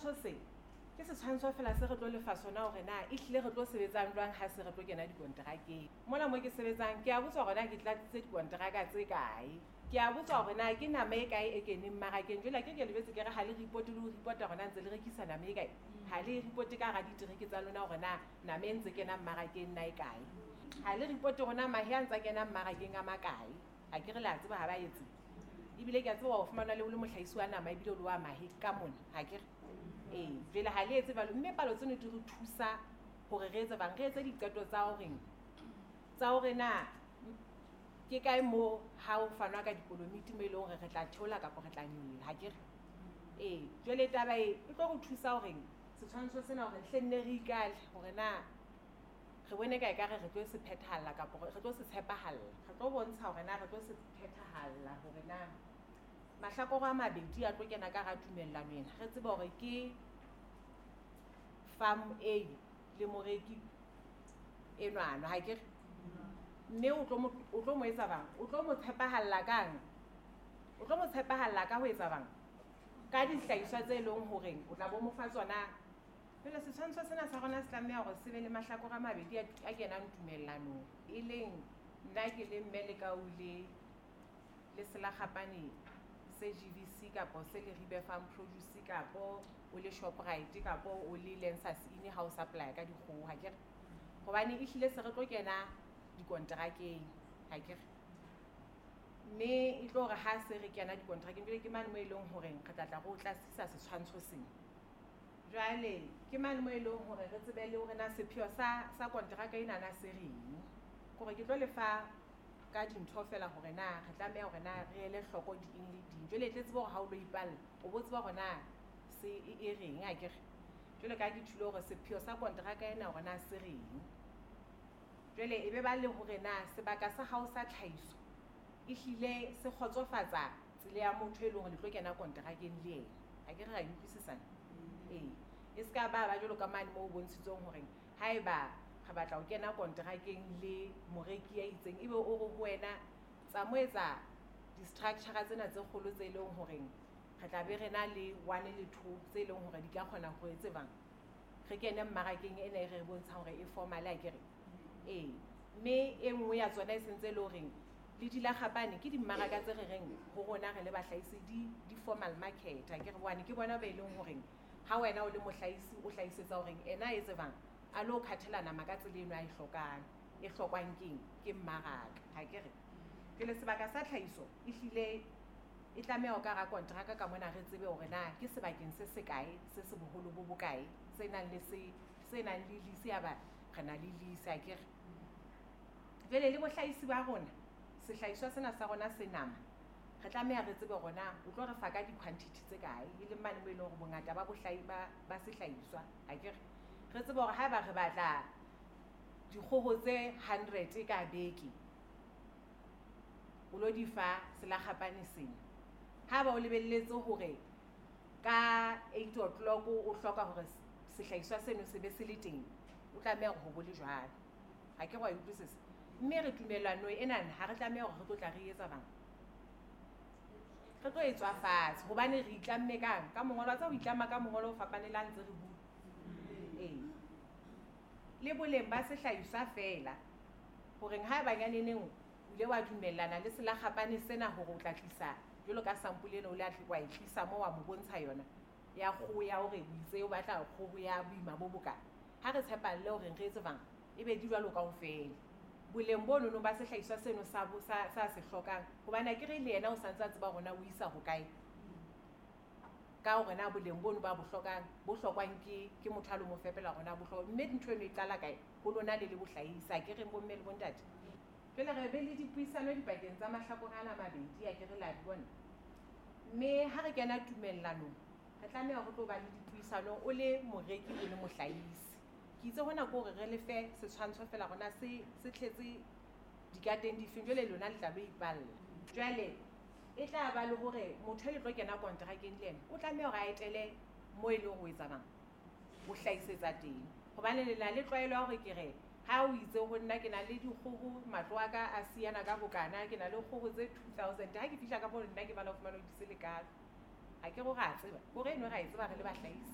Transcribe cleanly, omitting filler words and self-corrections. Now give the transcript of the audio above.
Setshwantsho se ke setshwantsho fela se re tlo lefa sona hore na ehlile re tlo sebetsang jwang ha se re tlo kena dikonterakeng. Mona mo ke sebetsang ke a botswa hore na ke tlatsitse dikonteraka tse kae. Ke a botswa hore na ke nama e kae e keneng mmarakeng. Jwale ke lebetse ke re ha le report le ho report-a hore na ntse le rekisa nama e kae. Ha le report ka hara ditereke tsa lona hore na nama e ntse kena mmarakeng na e kae. Ha le report hore na mahe a ntse a kena mmarakeng a makae. Ha ke re le a tseba ha ba etse. Ebile ke a tseba ho fumana le o le mohlahisi wa nama ebile o le wa mahe ka mona. Ha ke re? Ee, jwale ha le etse jwalo, mme palo tseno di re thusa hore re etse bang, re etse diqeto tsa horeng, tsa hore na ke kae mo ha o fanwa ka dikolomiti mo e leng hore re tla theola kapa re tla nyolla, ha ke re? Ee, jwale taba e e tlo re thusa horeng setshwantsho sena hore hle nne re ikale hore na re bone ka ekare re tlo se phethahalla kapa re tlo se tshepahalla. Re tlo bontsha hore na re tlo se phethahalla hore na mahlakore a mabedi a tlo kena ka hara tumellano ena. Re tsebe hore ke farm A le moreki enwano, ha ke re? Mme o tlo mo etsa bang? O tlo mo tshepahalla kang? O tlo mo tshepahalla ka ho etsa bang? Ka dihlahiswa tse leng horeng o tla bo mo fa tsona. Jwale setshwantsho sena sa rona se tlameha hore se be le mahlakore a mabedi a kenang tumellanong. E leng nna ke le mme Lekau le Selakgapane se GVC kapo se Leribe Farm Produce kapo o le Shoprite kapo o le Lensas Inn ha o supply ka dikgoho, ha ke re? Hobane ehlile se re tlo kena dikonterakeng, ha ke re? Mme e tlo re ha se re kena dikonterakeng, jwale ke mane mo e leng horeng re tla tla re o tlasisa setshwantsho sena. Jwale ke mane mo e leng hore re tsebe le hore na sepheo sa konteraka ena na se reng. Kore ke tlo lefa ka dintho fela hore na re tlameha hore na re ele hloko di eng le ding. Jwale tle tsebe hore ha o lo ipalla, o bo tseba hore na se e reng, ha ke re? Jwale ka ke tjhilo hore sepheo sa konteraka ena hore na se reng. Jwale e be ba le hore na sebaka sa hao sa tlhahiso ehlile se kgotsofatsa tsela ya motho e leng hore le tlo kena konterakeng le yena. Ha ke re ra e utlwisisana? Ee. E se ka ba jwalo ka mane moo o bontshitsweng hore haeba re batla ho kena konterakeng le moreki ya itseng, ebe o re ho wena tsa mo etsa di-structure tsena tse kgolo tse leng horeng re tla be re na le 1 le 2 tse leng hore di ka kgona ho etse bang re kene mmarakeng ena e re bontshang hore e formal, ha ke re? Ee. Mme e nngwe ya tsona e sentse e le horeng le dilakgapane ke dimmaraka tse re reng ho rona re le bahlahisi di formal market, ha ke re? Hobane ke bona ba e leng horeng ha wena o le mohlahisi o hlahisetsa horeng ena e tsebang a lo khathela nama ka tsela eno a e hlokang, e hlokwang keng? Ke mmaraka, ha ke re? Jwale sebaka sa tlhahiso ehlile e tlameha ho ka hara konteraka ka mona re tsebe hore na ke sebakeng se sekae, se se boholo bo bokae, se nang le se, se nang le lease, ya ba re na le lease, ha ke re? Jwale le bohlahisi ba rona, sehlahiswa sena sa rona se nama, re tlameha re tsebe hore na o tlo re fa ka di-quantity tse kae, e leng mane mo e leng hore bongata ba bohlahi ba sehlahiswa, ha ke re? Re tsebe hore haeba re batla dikgoho tse 100 ka beke, o lo di fa selakgapane sena. Haeba o lebelletse hore ka 8 o'clock o hloka hore sehlahiswa seno se be se le teng, o tlameha hore ho bo le jwalo. Ha ke re wa e utlwisisa? Mme re tumellano ena ha re tlameha hore re tlo tla re etsa bang. Re tlo e tswa fatshe hobane re itlamme kang? Ka mongolo, wa tseba ho itlama ka mongolo o fapane le ha ntse re bua. Ee. Le boleng ba sehlahiswa fela, horeng haeba nyaneneng o ile wa dumellana le selakgapane sena hore o tla tlisa jwalo ka sampole ena o ile wa e tlisa moo wa mo bontsha yona ya kgoho ya hore o itse o batla kgoho ya boima bo bokae. Ha re tshepalle hore re etse bang, e be di jwalo kaofela. Boleng bo nono ba sehlahiswa seno sa se hlokang, hobane ha ke re le yena o santse a tseba hore na o isa hokae. Ka hore na boleng bono ba bo hlokang, bo hlokwang ke motho a lo mo fepela hore na bo hlokwa. Mme ntho eno e qala kae? Ho lona le le bohlahisi, ha ke re bomme le bontate. Jwale re be le dipuisano dipakeng tsa mahlakore ana a mabedi, ha ke re la di bona. Mme ha re kena tumellanong, re tlameha ho tlo ba le dipuisano o le moreki o le mohlahisi. Ke itse hona ke hore re le fe setshwantsho fela hore na se tletse dikateng difeng, jwale lona le tla lo ipalla. Jwale e tla ba le hore motho e le tlo kena konterakeng le yena, o tlameha hore a etele mo e leng hore o etsa bang, o hlahisetsa teng. Hobane le na le tlwaelo ya hore ke re, ha o itse ho nna ke na le dikgoho, matlo a ka a siyana ka bokana, ke na le kgoho tse 2000. Ha ke fihla ka moo nna ke bala ho fumana ho di se lekalo. Ha ke re o ra tseba, hore eno ra e tseba re le bahlahisi.